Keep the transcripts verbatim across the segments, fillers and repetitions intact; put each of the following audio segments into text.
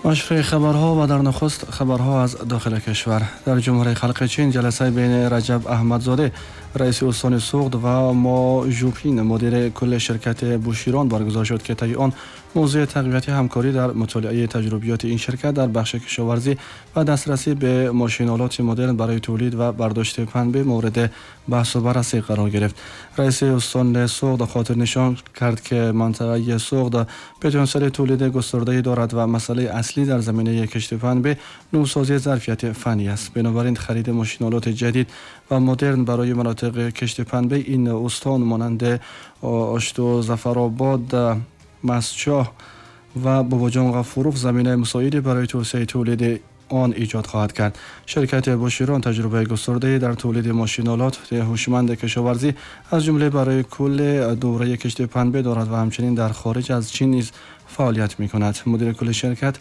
مشروع خبرها و در نخست خبرها از داخل کشور. در جمهوری خلق چین جلسه بین رجب احمدزاده رئیس استان سغد و ما ژوپین مدیر کل شرکت بوشیران برگزار شد که طی آن موضوع تقویت همکاری در مطالعه تجربیات این شرکت در بخش کشاورزی و دسترسی به ماشین‌آلات مدرن برای تولید و برداشت پنبه مورد بحث و بررسی قرار گرفت. رئیس استان سغد خاطر نشان کرد که منطقه سغد پتانسیل تولید گسترده‌ای دارد و مسئله اصلی در زمینه کشت پنبه نوسازی ظرفیت فنی است. بنابراین خرید ماشین‌آلات جدید و مدرن برای مناطق کشت پنبه این استان مانند آشتو، ظفرآباد، مسچاه و باباجان غفوروف زمینه مساعدی برای توسعه تولید آن ایجاد خواهد کرد. شرکت بوشیران تجربه گسترده‌ای در تولید ماشین‌آلات هوشمند کشاورزی از جمله برای کل دوره کشت پنبه دارد و همچنین در خارج از چین نیز فعالیت می‌کند. مدیر کل شرکت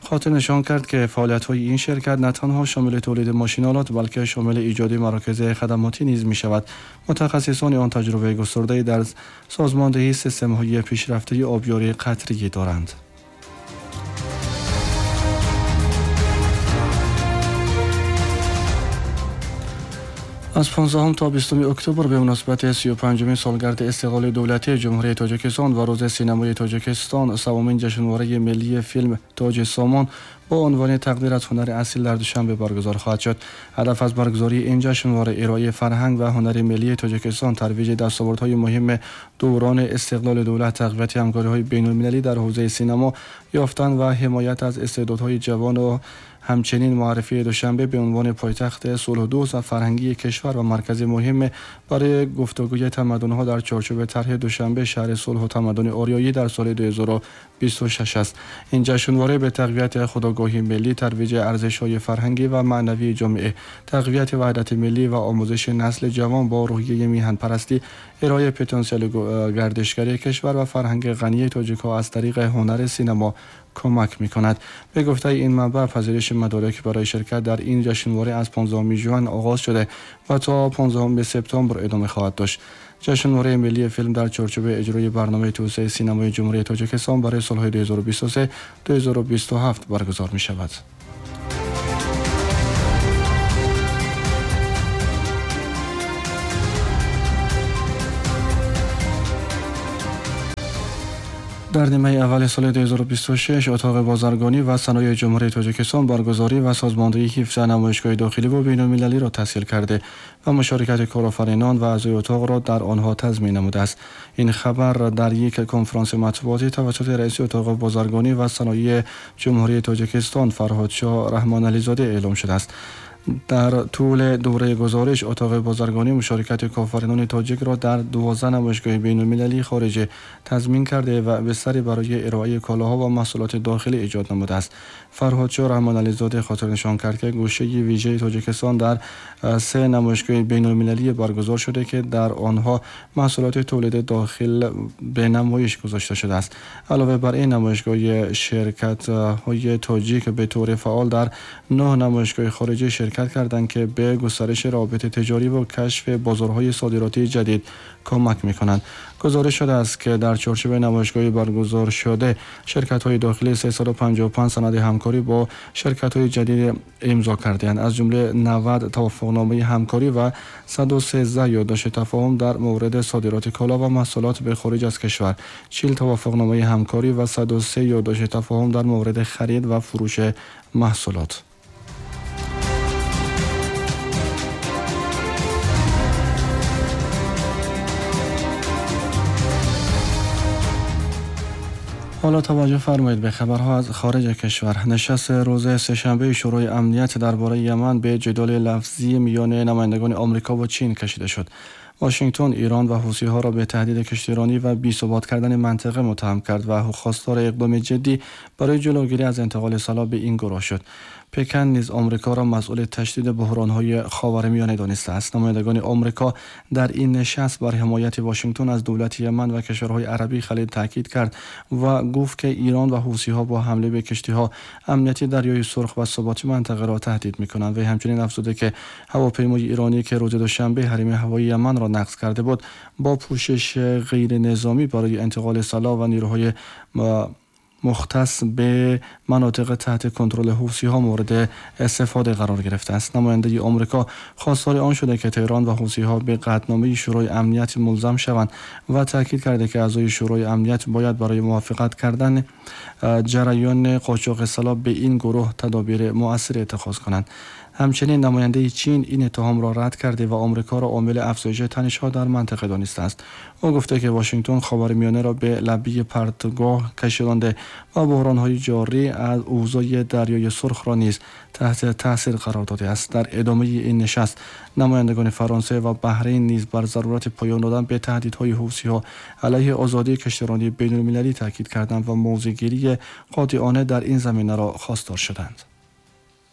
خاطر نشان کرد که فعالیت‌های این شرکت نه تنها شامل تولید ماشین‌آلات بلکه شامل ایجاد مراکز خدماتی نیز می‌شود. متخصصان آن تجربه گسترده‌ای در سازماندهی سیستم‌های پیشرفته آبیاری قطره‌ای دارند. از پانزدهم تا بیستم اکتبر به مناسبت سی و پنجمین سالگرد استقلال دولتی جمهوری تاجیکستان و روز سینمای تاجیکستان، سومین جشنواره ملی فیلم تاج سامان با عنوان تقدیر از هنر اصیل در دوشنبه برگزار خواهد شد. هدف از برگزاری این جشنواره ارائه فرهنگ و هنر ملی تاجیکستان، ترویج دستاوردهای مهم دوران استقلال دولت، تقویت همکاری‌های بین‌المللی در حوزه سینما، یافتن و حمایت از استعدادهای جوان و همچنین معرفی دوشنبه به عنوان پایتخت صلح دوست و فرهنگی کشور و مرکز مهم برای گفتگوی تمدن‌ها در چارچوب طرح دوشنبه شهر صلح و تمدن آریایی در سال دو هزار و بیست و شش است. این جشنواره به تقویت خودآگاهی ملی، ترویج ارزش‌های فرهنگی و معنوی جامعه، تقویت وحدت ملی و آموزش نسل جوان با روحیه میهن پرستی، ارائه پتانسیل گردشگری کشور و فرهنگ غنی تاجیک‌ها از طریق هنر سینما کمک می‌کند. به گفته این منبع، پذیرش مدارک برای شرکت در این جشنواره از پانزدهم ژوئن آغاز شده و تا پانزدهم سپتامبر ادامه خواهد داشت. جشنواره ملی فیلم در چارچوب اجرای برنامه توسعه سینمای جمهوری تاجیکستان برای سال‌های دو هزار و بیست و سه تا دو هزار و بیست و هفت برگزار می‌شود. در نیمه اول سال دو هزار و بیست و شش اتاق بازرگانی و صنایع جمهوری تاجیکستان برگزاری و سازماندهی هفده نمایشگاه داخلی و بین‌المللی را تسهیل کرده و مشارکت کارآفرینان و اعضای اتاق را در آنها تضمین نموده است. این خبر در یک کنفرانس مطبوعاتی توسط رئیس اتاق بازرگانی و صنایع جمهوری تاجیکستان فرهادشاه رحمان علیزاده اعلام شده است. در طول دوره گزارش اتاق بازرگانی مشارکت کارآفرینان تاجیک را در دوازده نمایشگاه بین‌المللی خارجی تضمین کرده و بستری برای ارائه کالاها و محصولات داخلی ایجاد نموده است. فرهادشاه رحمان علیزاده خاطر نشان کرد که گوشه ویژه تاجیکستان در سه نمایشگاه بین‌المللی برگزار شده که در آنها محصولات تولید داخل به نمایش گذاشته شده است. علاوه بر این نمایشگاه شرکت‌های تاجیک به طور فعال در نه نمایشگاه خارجی شرکت کردند که به گسترش روابط تجاری و کشف بازارهای صادراتی جدید کمک می‌کنند. گزارش شده است که در چارچوب نمایشگاه برگزار شده شرکت‌های داخلی سیصد و پنجاه و پنج سند همکاری با شرکت‌های جدید امضا کرده‌اند، از جمله نود توافقنامه همکاری و صد و سیزده یادداشت تفاهم در مورد صادرات کالا و محصولات به خارج از کشور، چهل توافقنامه همکاری و صد و سه یادداشت تفاهم در مورد خرید و فروش محصولات. حالا توجه فرمایید به خبرها از خارج کشور. نشست روز سه‌شنبه شورای امنیت درباره یمن به جدال لفظی میان نمایندگان آمریکا و چین کشیده شد. واشنگتن ایران و حوثی‌ها را به تهدید کشتیرانی و بی‌ثبات کردن منطقه متهم کرد و خواستار اقدام جدی برای جلوگیری از انتقال سلاح به این گروه شد. پکن نیز آمریکا را مسئول تشدید بحران‌های خاورمیانه دانسته است. نمایندگان آمریکا در این نشست بر حمایت واشنگتن از دولت یمن و کشورهای عربی خلیج تاکید کرد و گفت که ایران و حوثی‌ها با حمله به کشتی‌ها امنیت دریای سرخ و ثبات منطقه را تهدید می‌کنند. و همچنین افزوده که هواپیمای ایرانی که روز دوشنبه حریم هوایی یمن را نقض کرده بود با پوشش غیر نظامی برای انتقال سلاح و نیروهای مختص به مناطق تحت کنترل حوثی‌ها مورد استفاده قرار گرفته است. نماینده آمریکا خواستار آن شده که تهران و حوثی‌ها به قطعنامه شورای امنیت ملزم شوند و تاکید کرده که اعضای شورای امنیت باید برای موافقت کردن جریان قاچاق سلاح به این گروه تدابیر مؤثر اتخاذ کنند. همچنین نماینده چین این اتهام را رد کرده و آمریکا را عامل افزایش تنش‌ها در منطقه دانسته است. او گفته که واشنگتن خاورمیانه را به لبه پرتگاه کشانده و بحران‌های جاری از اوضاع دریای سرخ را نیز تحت تاثیر قرار داده است. در ادامه این نشست نمایندگان فرانسه و بحرین نیز بر ضرورت پایان دادن به تهدیدهای حوثی‌ها علیه آزادی کشتیرانی بین‌المللی تاکید کردند و موضع‌گیری قاطعانه در این زمینه را خواستار شدند.